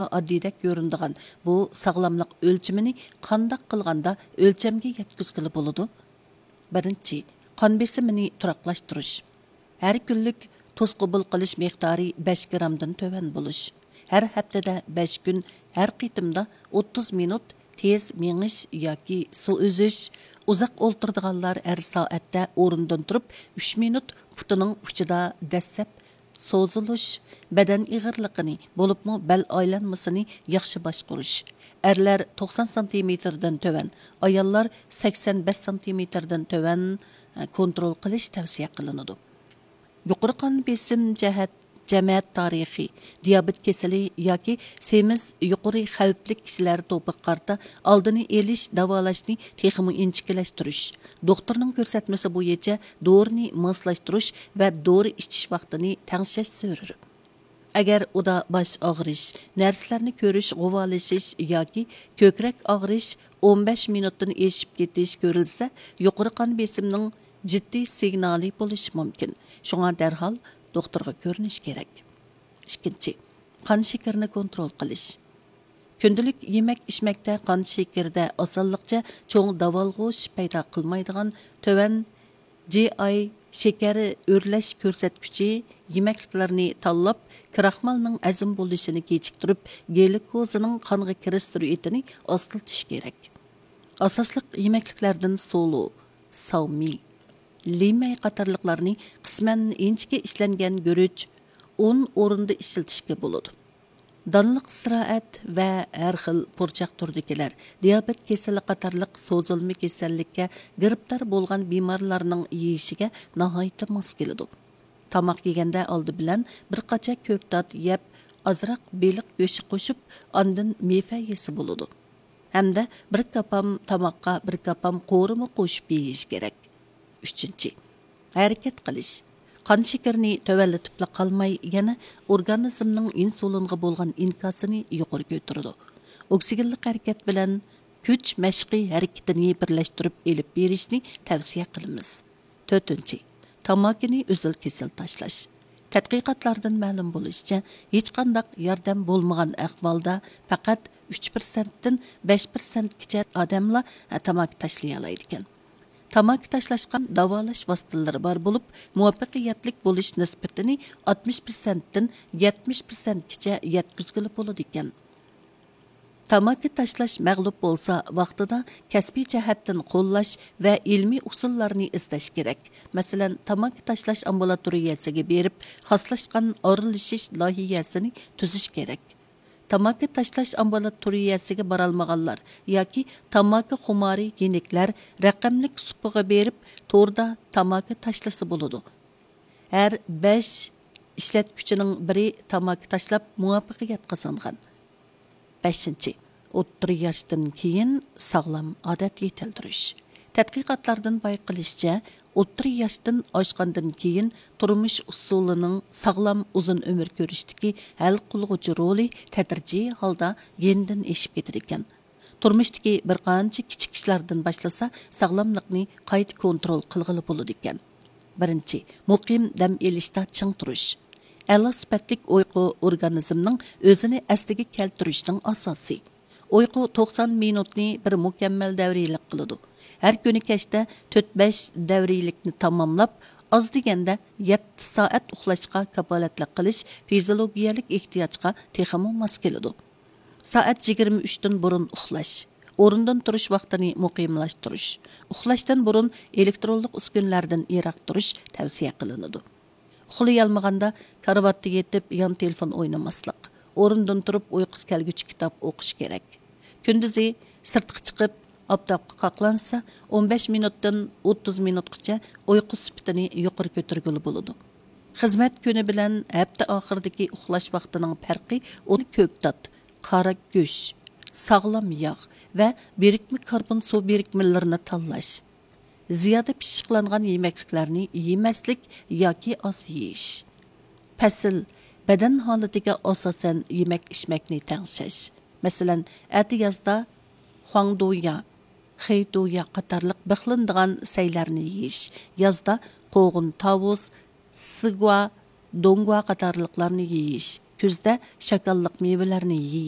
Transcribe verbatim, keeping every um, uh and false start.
ئاددىيدەك كۆرۈنىدىغان بۇ ساغلاملىق ئۆلچىمىنى قانداق قىلغاندا ئۆلچەمگە يەتكۈزگىلى بولىدۇ؟ بىرىنچى، قان بېسىمىنى تۇراقلاشتۇرۇش. ھەر كۈنلۈك تۇز قوبۇل قىلىش مىقدارى بەش گىرامدىن تۆۋەن بولۇش. ھەر ھەپتىدە بەش كۈن، ھەر قېتىمدا ئوتتۇز مىنۇت تېز مېڭىش ياكى سۇ ئۈزۈش. ئۇزاق ئولتۇرىدىغانلار ھەر سائەتتە ئورنىدىن تۇرۇپ، ئۈچ مىنۇت پۇتىنىڭ ئۇچىدا دەسسەپ سوزۇلۇش، بەدەن ئېغىرلىقىنى، بولۇپمۇ بەل ئايلانمىسىنى ياخشى باشقۇرۇش. ئەرلەر توقسان سانتىمېتىردىن تۆۋەن، ئاياللار سەكسەن بەش سانتىمېتىردىن تۆۋەن، ئە، كونترول قىلىش تەۋسىيە قىلىنىدۇ. يۇقىرى قان بېسىم جەھەت، جەمەت تارىخى، دىيابېت كېسىلى ياكى سېمىز يۇقىرى خەۋپلىك كىشىلەر توپىغا قارىتا ئالدىنى ئېلىش، داۋالاشنى تېخىمۇ ئىنچىكىلەشتۈرۈش، دوختۇرنىڭ كۆرسەتمىسى بويىچە دورىنى ماسلاشتۇرۇش ۋە دورا ئىچىش ۋاقتىنى تەڭشەش زۆرۈر. ئەگەر ئۇدا باش ئاغرىش، نەرسىلەرنى كۆرۈش، غۇۋالىشىش ياكى كۆكرەك ئاغرىش ئون بەش مىنۇتتىن ئېشىپ كېتىش كۆرۈلسە، يۇقىرى قان بېسىمنىڭ جىددىي سىگنالى بولۇشى مۇمكىن. شۇڭا دەرھال دوختۇرغا كۆرۈنۈش كېرەك. ئىككىنچى، قان شېكىرىنى كونترول قىلىش. كۈندىلىك يېمەك-ئىچمەكتە قان شېكىرىدە ئاسانلىقچە چوڭ داۋالغۇش پەيدا قىلمايدىغان تۆۋەن جى ئاي شېكەر ئۆرلەش كۆرسەتكۈچى يېمەكلىكلەرنى تاللاپ، كراخمالنىڭ ھەزىم بولۇشىنى كېچىكتۈرۈپ، گلۇكوزىنىڭ قانغا كىرىش سۈرئىتىنى ئاستىلىتىش كېرەك. ئاساسلىق يېمەكلىكلەردىن سولۇ، ساۋمى، لىمەي قاتارلىقلارنى قىسمەن ئىنچىكە ئىشلەنگەن گۈرۈچ، ئۇن ئورنىدا ئىشلىتىشكە بولىدۇ. دانلىق ئىستىراھەت ۋە ھەر خىل پۇرچاق تۈرىدىكىلەر، دىيابېت كېسىلى قاتارلىق سوزۇلما كېسەللىككە گىرىپتار بولغان بىمارلارنىڭ يېيىشىگە ناھايىتى ماس كېلىدۇ. تاماق يېگەندە ئالدى بىلەن بىر قاچا كۆكتات يەپ، ئازراق بېلىق گۆشى قوشۇپ، ئاندىن مېۋە يېسە بولىدۇ. ھەمدە بىر كاپام تاماققا بىر كاپام قورۇما قوشۇپ يېيىش كېرەك. ئۈچىنچى، ھەرىكەت قىلىش. قان شېكىرىنى تۆۋەنلىتىپلا قالماي، يەنە ئورگانىزمنىڭ ئىنسۇلىنغا بولغان ئىنكاسىنى يۇقىرى كۆتۈرىدۇ. ئوكسىگېنلىق ھەرىكەت بىلەن كۈچ مەشقى ھەرىكىتىنى بىرلەشتۈرۈپ ئېلىپ بېرىشنى تەۋسىيە قىلىمىز. تۆتىنچى، تاماكىنى ئۈزۈل-كېسىل تاشلاش. تەتقىقاتلاردىن مەلۇم بولۇشىچە، ھېچقانداق ياردەم بولمىغان ئەھۋالدا پەقەت ئۈچ پىرسەنتتىن بەش پىرسەنتكىچە ئادەملا تاماكا تاشلىيالايدىكەن. تاماكا تاشلاشقا داۋالاش ۋاسىتىلىرى بار بولۇپ، مۇۋەپپەقىيەتلىك بولۇش نىسبىتىنى ئاتمىش پىرسەنتتىن يەتمىش پىرسەنتكىچە يەتكۈزگىلى بولىدىكەن. تاماكا تاشلاش مەغلۇپ بولسا، ۋاقتىدا كەسپىي جەھەتتىن قوللاش ۋە ئىلمىي ئۇسۇللارنى ئىزدەش كېرەك. مەسىلەن، تاماكا تاشلاش ئامبۇلاتورىيەسىگە بېرىپ، خاسلاشقان ئارىلىشىش لايىھەسىنى تۈزۈش كېرەك. تاماكا تاشلاش ئامبۇلاتورىيەسىگە بارالمىغانلار ياكى تاماكا خۇمارى يېنىكلەر رەقەملىك سۇپىغا بېرىپ، توردا تاماكا تاشلىسا بولىدۇ. ھەر بەش ئىشلەتكۈچىنىڭ بىرى تاماكا تاشلاپ مۇۋەپپەقىيەت قازانغان. بەشىنچى، ئوتتۇرا ياشتىن كېيىن ساغلام ئادەت يېتىلدۈرۈش. تەتقىقاتلاردىن بايقىلىشىچە، ئوتتۇرا ياشتىن ئاشقاندىن كېيىن تۇرمۇش ئۇسۇلىنىڭ ساغلام ئۇزۇن ئۆمۈر كۆرۈشتىكى ھەل قىلغۇچى رولى تەدرىجىي ھالدا يېنىدىن ئېشىپ كېتىدىكەن. تۇرمۇشتىكى بىر قانچە كىچىك ئىشلاردىن باشلىسا، ساغلاملىقنى قايتا كونترول قىلغىلى بولىدىكەن. بىرىنچى، مۇقىم دەم ئېلىشتا چىڭ تۇرۇش. ئەلا سۈپەتلىك ئۇيقۇ ئورگانىزمنىڭ ئۆزىنى ئەسلىگە كەلتۈرۈشنىڭ ئاساسى. ئۇيقۇ توقسان مىنۇتنى بىر مۇكەممەل دەۋرىيلىك قىلىدۇ. ھەر كۈنى كەچتە تۆت بەش دەۋرىيلىكنى تاماملاپ، ئاز دېگەندە يەتتە سائەت ئۇخلاشقا كاپالەتلىك قىلىش فىزىيولوگىيەلىك ئېھتىياجقا تېخىمۇ ماس كېلىدۇ. سائەت يىگىرمە ئۈچتىن بۇرۇن ئۇخلاش، ئورنىدىن تۇرۇش ۋاقتىنى مۇقىملاشتۇرۇش، ئۇخلاشتىن بۇرۇن ئېلېكترونلۇق ئۈسكۈنىلەردىن يىراق تۇرۇش تەۋسىيە قىلىنىدۇ. ئۇخلىيالمىغاندا كارىۋاتتا يېتىپ يان تېلېفون ئوينىماسلىق، ئورنىدىن تۇرۇپ ئۇيقۇسى كەلگۈچە كىتاب ئوقۇش كېرەك. كۈندۈزى سىرتقا چىقىپ، ئاپتاپقا قاقلانسا، ئون بەش مىنۇتتىن ئوتتۇز مىنۇتقىچە ئۇيقۇ سۈپىتىنى يۇقىرى كۆتۈرگىلى بولىدۇ. خىزمەت كۈنى بىلەن ھەپتە ئاخىرىدىكى ئۇخلاش ۋاقتىنىڭ پەرقى ئۇدا كۆكتات، قارا گۆش، ساغلام ياغ ۋە بىرىكمە كاربون سۇ بىرىكمىلىرىنى تاللاش. زىيادە پىششىقلانغان يېمەكلىكلەرنى يېمەسلىك ياكى ئاز يېيىش. پەسىل، بەدەن ھالىتىگە ئاساسەن يېمەك-ئىچمەكنى تەڭشەش. مەسىلەن، ئەتە يازدا خۇاڭدۇيا، خېيدۇيا قاتارلىق بىخلىنىدىغان سەيلەرنى يېيىش، يازدا قوغۇن، تاۋۇز، سىگۇا، دوڭگۇا قاتارلىقلارنى يېيىش. كۈزدە شاكاللىق مېۋىلەرنى يېيىش.